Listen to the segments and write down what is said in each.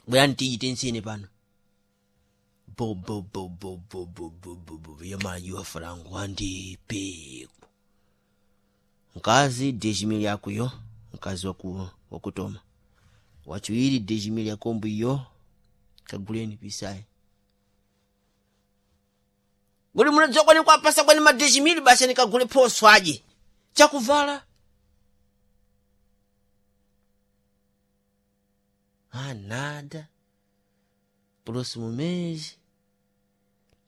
Bwerani tiyite nsene pano. Bo bo bo bo bo bo bo bo bo yamajiwa frango andipeku. Mkazi 10.000 yakuyo, mkazi wakutoma. Wachiwiri 10.000 yakombo iyo, kaguleni pisayi. Guli munadziwa kwani kwapasa kwani ma 10.000 basi nikagule phoso aje. Chakuvala. Ah, nada. Próximo mês.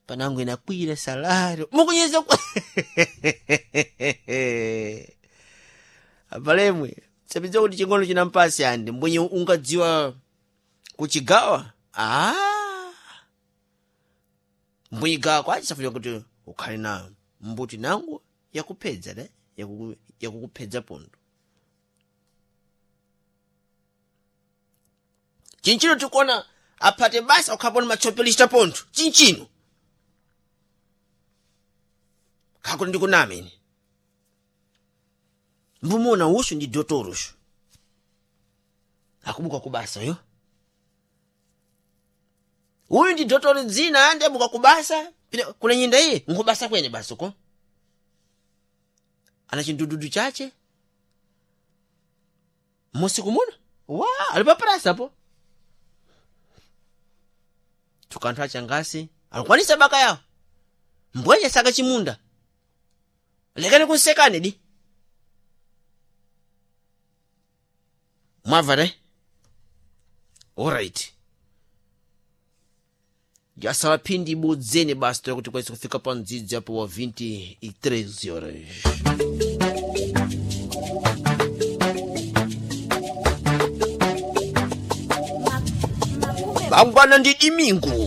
Panango inakwira salário. Mukunyeza kwa. Apalemwe. Sapidza kuti chingono chinampasi ande. Mbwenye ungadziwa kuchigawa. Ah. Mbwenye gawa kwachi safunya kuti ukhale na mbuti nangu yakupedza ne? Yakukupedza pondo. Chinchino tikuona aphate basa ukhapona machopelista pontho chinchino khakuti ndikunama ine mbumona usu ndi dotoro usu akubuka kubasa yo uyu ndi dotoro dzina andi abuka kubasa pine kuna nyinda iye nkubasa kwene basa ko ana chindududu chache musiku muno wa ali paprasa po tukanthu achangasi alikwanisa baka yawo mbwenye saka chimunda lekani kunsekane di mwabva re alright yasala phindi ibodzene basi toya kuti kwaisa kufika pa mdzidzi apo wa 23 horas. Bangwana ndi Dimingu.